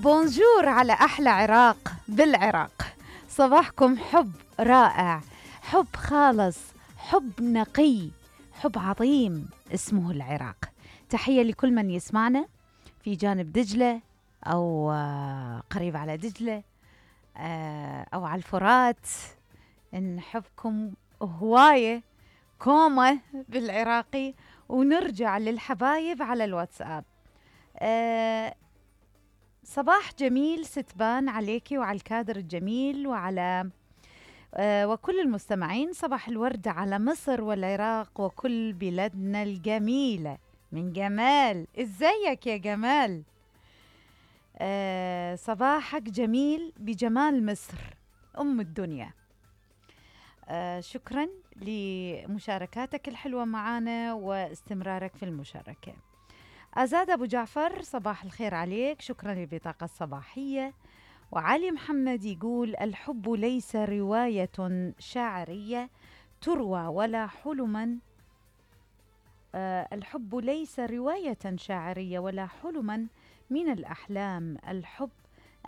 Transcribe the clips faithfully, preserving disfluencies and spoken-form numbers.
بونجور على أحلى عراق بالعراق. صباحكم حب رائع، حب خالص، حب نقي، حب عظيم اسمه العراق. تحية لكل من يسمعنا في جانب دجلة أو قريب على دجلة أو على الفرات. نحبكم هواية كومة بالعراقي. ونرجع للحبايب على الواتساب. أه صباح جميل ستبان عليكي وعلى الكادر الجميل وعلى أه وكل المستمعين. صباح الورد على مصر والعراق وكل بلادنا الجميلة من جمال. ازيك يا جمال؟ أه صباحك جميل بجمال مصر أم الدنيا. أه شكرا لمشاركاتك الحلوة معنا واستمرارك في المشاركة. أزاد أبو جعفر صباح الخير عليك، شكرا للبطاقة الصباحية. وعلي محمد يقول الحب ليس رواية شعرية تروى ولا حلما آه الحب ليس رواية شاعرية ولا حلما من الأحلام. الحب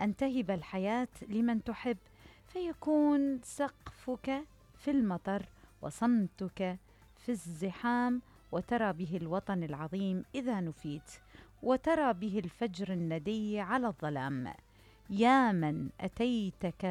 أن تهب الحياة لمن تحب، فيكون سقفك في المطر وصمتك في الزحام، وترى به الوطن العظيم إذا نفيت، وترى به الفجر الندي على الظلام. يا من أتيتك